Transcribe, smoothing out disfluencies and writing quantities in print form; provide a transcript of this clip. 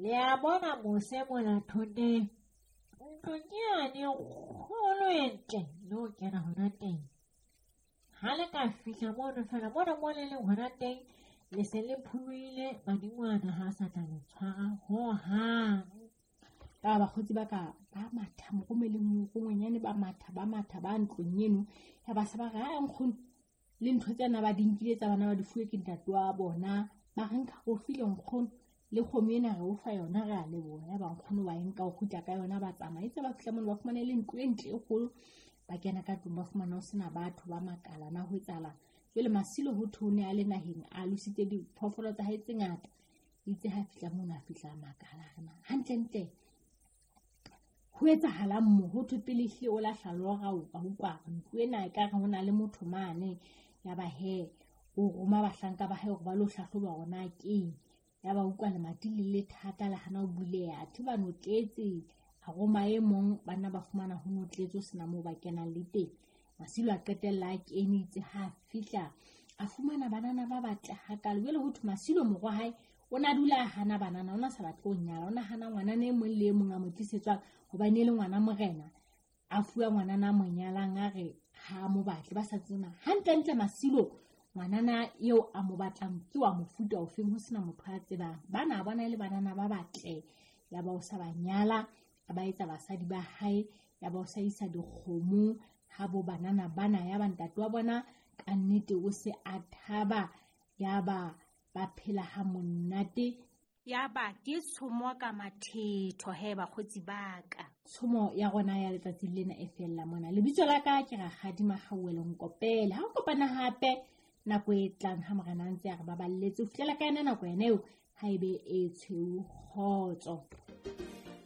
Le a bona mose mona thoteng, ntlo ke yane e kgolo e ntle le ho kena hona teng. Ha le ka fihla mono fela mona mo le leng hona teng, le se le pholohile madingwana ha a sa tla le tshwara hohang. Ka bakgotsi ba ka ba matha morome le morongwenyane ba matha ba matha ba ntlong eno ya ba se ba re a nkgono le ntho tsena ba di nkile tsa bana ba di fuwe ke ntate wa bona ba re nka go file nkgono le kgomo ena re o fa yona re a leboha ya ba nkgono ba e nka o kgutla ka yona ba tsamaya itse ba fihla mono ba fumane le ntlo e ntle e kgolo ba kena ka tlung ba fumana ho sena batho ba makala na ho etsahalang. Jwale Masilo ho thwe o ne a le naheng a lositse diphoofolo tsa hae tse ngata. Itse ha fihla mono a fihla a makala a re na hantlentle ho etsahalang mo ho thwe pele ehlile o lahla lora o ka utlwa ntlo ena e ka re ho na le motho mane. Ya ba he o roma bahlanka ba hae hore ba lo hlahloba hore na keng. Ya ba utlwa lemati le le thata le hana ho buleha athe ba notletse. A roma e mong banna ba fumana ho notletse ho sena moo ba kenang le teng. Masilo a qetella a kene itse ha a fihla a fumana banana ba batle hakalo. Jwale ho thwe Masilo morwa hae o na dula a hana banana, o na sa batle ho nyala, o na hana ngwanana e mong le e mong a mo tlisetswang hobane e le ngwana morena. A fuwa ngwanana a mo nyalang a re ha a mo batle ba sa tsena. Hantlentle Masilo ngwanana eo a mo batlang ke wa mofuta ofeng ho sena motho a tsebang. Bana bona e le banana ba batle ya ba o sa ba nyala, a ba etsa basadi ba hae, ya ba o sa isa dikgomo ha bo banana bana ya ba ntate wa bona ka nnete o se a thaba ya ba ba phela ha monate. Ya ba ke tshomo ka mathetho he bakgotsi ba ka. Tshomo ya rona ya letsatsi lena e fella mona. Lebitso la ka ke Rakgadi Makgauwelo Nkopele. Ha o kopana hape nako e tlang ha morena a ntse a re baballetse ho fihlela ka yona nako yena eo ha ebe e tshweu kgotso.